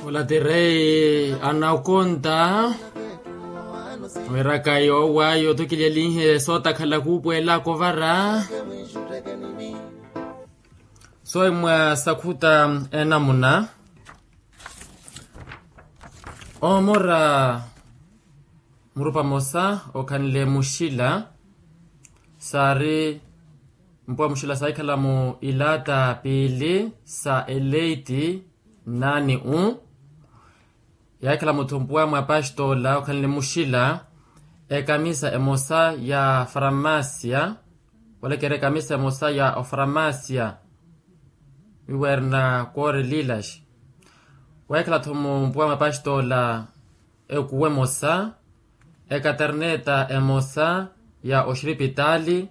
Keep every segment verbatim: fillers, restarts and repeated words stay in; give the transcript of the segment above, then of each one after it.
Ola ti rei anakonta. Wiraka yoowa yoothukilyelihe sootakhala kuupweelaka ovara. Soimwa sakhuta enamuna. Omora murupa mosa okhanle muxila. Saari mpuwa muxila saahikhala mu ilaata piili sa eleiti nani u. Yaahikhala muthumpuwa mwa pastola okhanle muxila. Ekamisa emosa ya farmasia. Olekera ekamisa emosa ya ofarmasia. Iwerna kore lilas. Waahikhala-tho mumpuwa mwa pastola ekuwa emosa. Ekaterneta emosa ya oxiripitaali.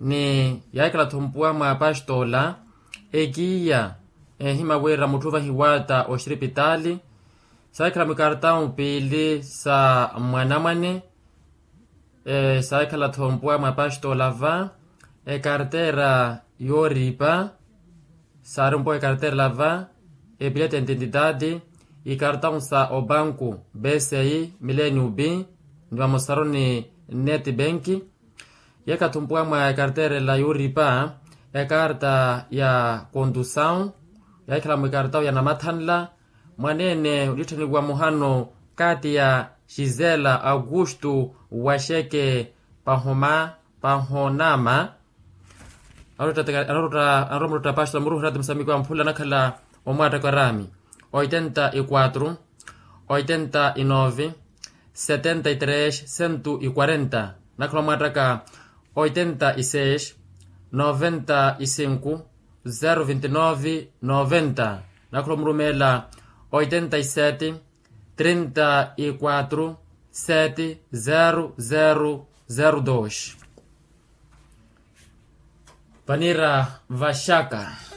Ni yaahikhala-tho mpuwa mwa pastola ekiiya ehima wira mutthu vahiwatta oxiripitaali. Saahikhala mwikartawu piili sa mwanamwane. Saahikhala-tho mpuwa mwa pastola va ekartera yooripa. Saari mpuwa ekartera va epiletenti entitati. Ikartawu sa obanku besei mileni upi ni vamosaru ni neti benki. Yeekathumpwa mwa ekarterela yooripa ekarta ya kontusawu. Yaahikhala mwikartawu ya namathanla. Mwaneene olitthaniwa muhano kaati ya xisela aukustu waxeke pahoma pahonama. Anarutta anarutta anarutta pastola muruhera ti musamiki wa mphula anakhala omwaattaka araami. Oitenta y quatro, oitenta y nove, setenta y tres cento y quarenta. Nakhala omwaattaka oitenta y seis, noventa y cinco, zero vinte y nove noventa. Nakhala omurumeela oitenta y sete, trinta y quatro, sete zero zero zero dos. Vaniira vaxaka.